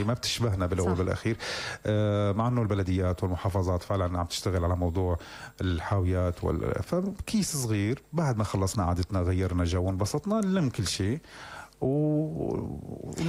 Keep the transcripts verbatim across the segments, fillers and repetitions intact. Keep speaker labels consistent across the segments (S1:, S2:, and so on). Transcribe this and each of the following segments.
S1: ما بتشبهنا بالاول بالاخير. آه مع انه البلديات والمحافظات فعلا عم تشتغل على موضوع الحاويات وال... فكيس صغير بعد ما خلصنا عادتنا غيرنا جو انبسطنا نلم كل شيء و...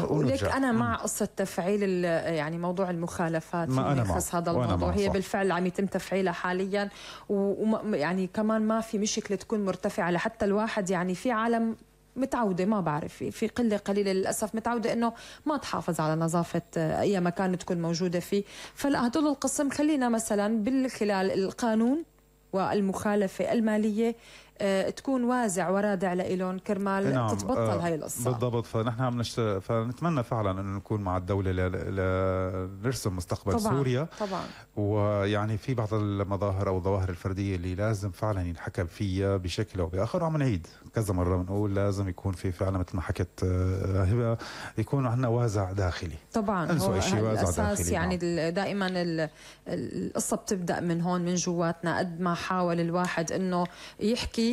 S2: ولك أنا مع قصة تفعيل يعني موضوع المخالفات
S1: ما أنا
S2: يخص هذا الموضوع. هي بالفعل عم يتم تفعيلها حاليا، ويعني كمان ما في مشكلة تكون مرتفعة لحتى الواحد يعني في عالم متعودة ما بعرف في قلة قليلة للأسف متعودة إنه ما تحافظ على نظافة أي مكان تكون موجودة فيه. فلا هدول القسم خلينا مثلا بالخلال القانون والمخالفة المالية أه تكون وازع ورادع لإلهم كرمال نعم. تتبطل آه هاي القصة
S1: بالضبط. فنحن عم نشت... فنتمنى فعلا انه نكون مع الدولة لنرسم ل... مستقبل
S2: طبعاً.
S1: سوريا
S2: طبعا.
S1: ويعني في بعض المظاهر او الظواهر الفردية اللي لازم فعلا ينحكم فيها بشكل او باخر، وعم نعيد كذا مرة بنقول لازم يكون في فعلا مثل ما حكت هبة يكون عندنا وازع داخلي.
S2: طبعا هو الاساس يعني نعم. دائما القصة بتبدأ من هون من جواتنا. قد ما حاول الواحد انه يحكي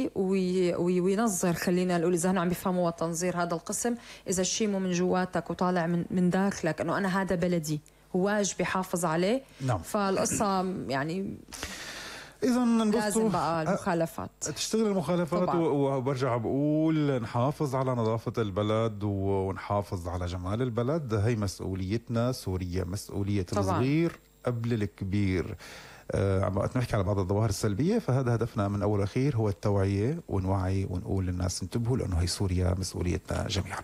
S2: وينظر خلينا نقول اذا هن عم بيفهموا التنظير هذا القسم، اذا الشيء مو من جواتك وطالع من من داخلك انه انا هذا بلدي واجب يحافظ عليه
S1: نعم.
S2: فالقصه يعني
S1: إذا
S2: لازم بقى المخالفات
S1: تشتغل المخالفات طبعا. وبرجع بقول نحافظ على نظافة البلد ونحافظ على جمال البلد. هي مسؤوليتنا سوريا، مسؤولية الصغير قبل الكبير. آه عم نحكي على بعض الظواهر السلبية، فهذا هدفنا من أول وأخير هو التوعية ونوعي ونقول للناس انتبهوا لأنه هي سوريا مسؤوليتنا جميعا.